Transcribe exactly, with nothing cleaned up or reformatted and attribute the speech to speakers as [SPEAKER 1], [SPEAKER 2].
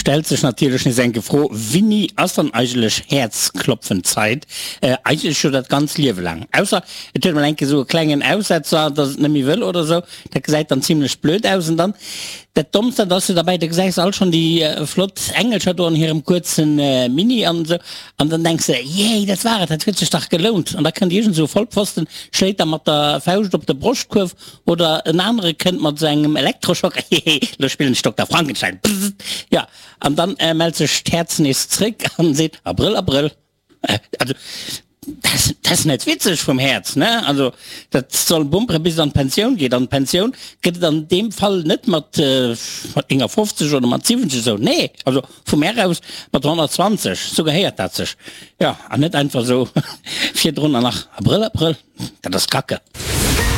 [SPEAKER 1] Stellt sech natierlech nees eng Fro, Wéini ass dann eigentlech Häerzklopfenzäit? Äh, eigentlech scho dat ganzt Liewe laang. Ausser et huet mol eng Kéier sou e klengen Aussetzer, dass et net méi wëll oder sou. Dat gesäit dann zimlech blöd aus. An dann dat Dommst, dat ass jo derbäi, du gesäis alt schonn déi äh, flott Engelcher do an hirem kuerzen äh, Mini an sou. An dann denks de, yay, dat war et, dat huet sech dach gelount. An da kënnt iergend sou e Vollpfosten, schléit der mat der Fauscht op de Broschtkuerf oder en anere kënnt mat sou engem Elektroschocker, hehe, lo spillen ech Dokter Frankenstein, pssst, jo, an dann mellt sech d'Häerz nees zréck an seet, Abrëll, Abrëll. Also, dat ass net witzeg vum Häerz, ne? Also, dat soll bumpere bis et an d'Pensioun geet. An d'Pensioun gëtt et an deem Fall net mat éngafofzeg oder mat siwwenzeg esou, nee, also vu mär aus mat honnertzwanzeg, esou gehéiert dat sech, jo, an net einfach esou virdrun an nach Abrëll, Abrëll, dat ass Kacke.